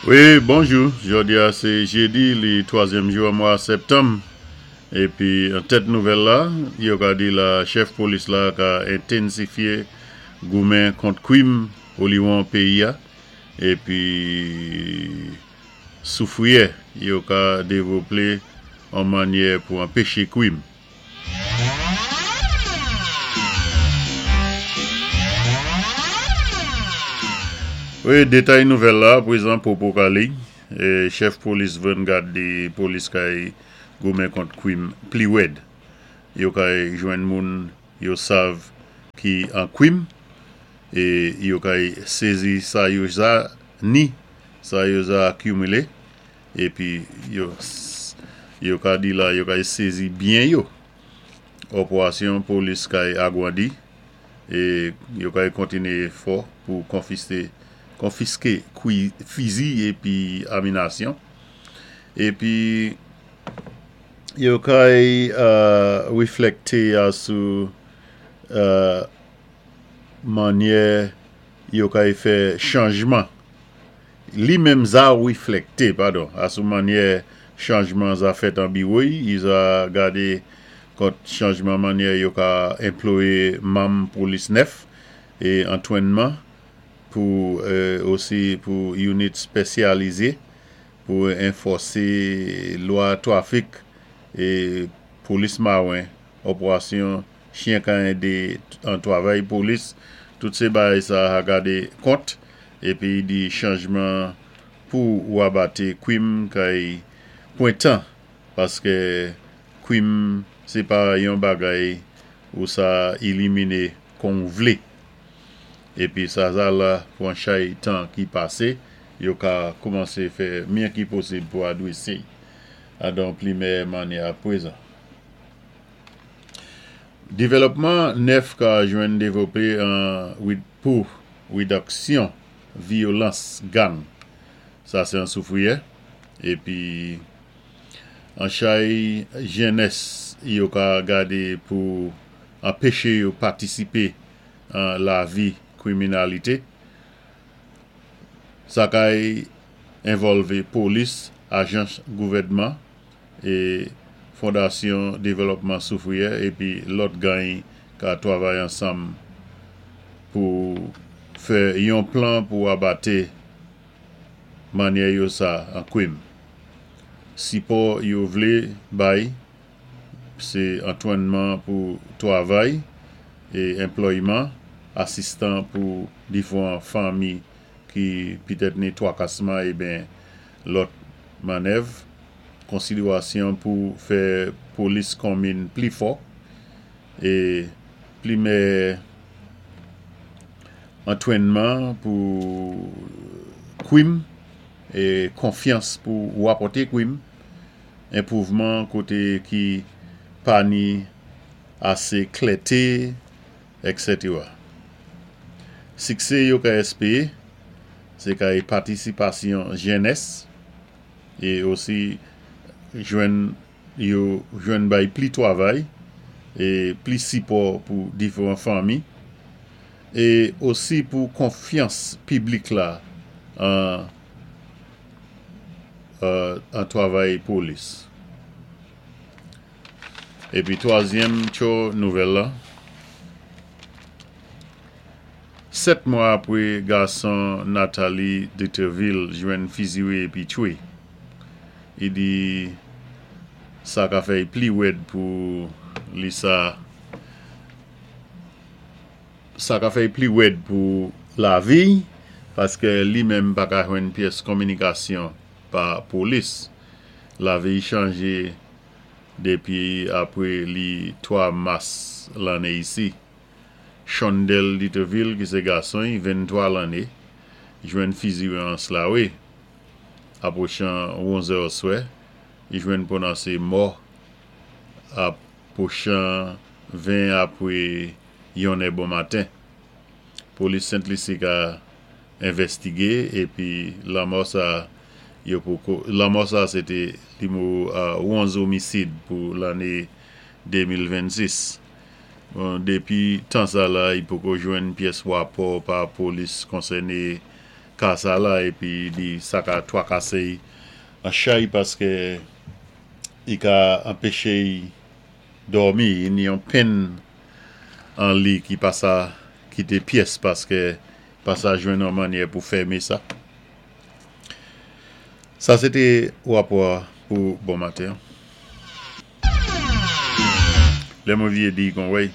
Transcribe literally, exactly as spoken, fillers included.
Wi, bonjou. Jòdi-a sé jédi, li twazyèm jou an mwa sèptanm. Épi, an tèt nouvèl la, yo ka di la chèf polis la ka entensifyé goumen kont kwim oliwon péyi-a. Épi, Soufriyè, yo ka dévloplé an mannyè pou anpéché kwim. Wi, détay nouvèl la, pwézan popo ka li. Chèf polis Vanguard di polis kay goumen kont kwim pli wèd. Yo kay jwenn moun yo sav ki an kwim é yo kay sézi sa yo za ni, sa yo za akimilé épi yo yo ka di la yo kay sézi byen yo. Òpwasyon polis kay agwandi é yo kay kontiné fò pou konfisté konfiské kwi fizi épi aminasyon. Épi yo kay wéflèkté asou mannyè yo kay fè chanjman. Li menm za wéflèkté, padon, asou mannyè chanjman za fèt an biwo-y, i za gadé kont chanjman mannyè yo ka anplwayé manm polis nèf é antwénman pou osi pou unit spésyalizé pou anfòsé lwa twafik é polis mawen, òpwasyon chyen ka édé an twavay polis, tout sé bagay sa a gadé kont épi di chanjman pou wabaté kwim kay pwan tan paské kwim sé pa yon bagay ou sa éliminé kon ou vlé. Épi sa za la pwan chay tan ki pasé, yo ka koumansé fè mye ki posib pou adwésé adon pli mèyè mannyè a pwézan. Dévlòpman nèf ka jwenn dévloplé an pou wédiksyon vyolans gang. Sa sé an Soufriyè. Épi an chay jènès yo ka gadé pou anpéché yo patisipé an lavi kwiminalité. Sa kay envòlvé polis, ajans gouvèdman é Fondasyon Dévlòpman Soufriyè épi lòt gany ka twavay ansanm pou fè yon plan pou abaté mannyè yo sa an kwim. Sipò yo vlé bay, sé antwénman pou twavay é anplwayman, asistan pou diféwan fanmi ki pitèt ni twakasman ébyen lòt mannèv, konsidwasyon pou fè polis konmin pli fò é pli mèyè antwénman pou kwim é konfyans pou wapòté kwim, enpwouvman koté ki pa ni asé klèté, et cetera. Siksé yo ka èspéwé, sé kay patisipasyon jènès é osi jwenn yo jwenn bay pli twavay é pli sipò pou diféwan fanmi é osi pou konfyans piblik la an an twavay polis. Épi twazyèm tjo nouvèl la, sèt mwa apwé gason Nathalie Deterville jwenn fiziwé épi twé. I di sa ka fè pli wèd pou li sa sa ka fè pli wèd pou lavi paské li menm pa ka jwenn pyès kominikasyon pa polis. Lavi chanjé dépi apwé li twa mas lanné isi. Shondel Deterville ki sé gason, venntwa lanné, jwenn fiziwé an Slawe. Apwochan onzè oswè, i jwenn pwonansé mò apwochan ven apwé yonnè bon maten. Polis Sent Lisi ka envèstigé épi lanmò sa yo poko lanmò sa sé té nimewo onz omisid pou lanné de mil vennsis. Bon, dépi tan sa la, i poko jwenn pyès wapò pa polis konsèné Ka sa la épi di sa ka twakasé an chay paské i ka anpéché'y dòmi, i ni yon penn an li ki pa sa kité pyès paské pa sa jwenn an mannyè pou fèmé sa. Sa sé té wapò pou bon maten. Lè mwen vyé di kon wèy.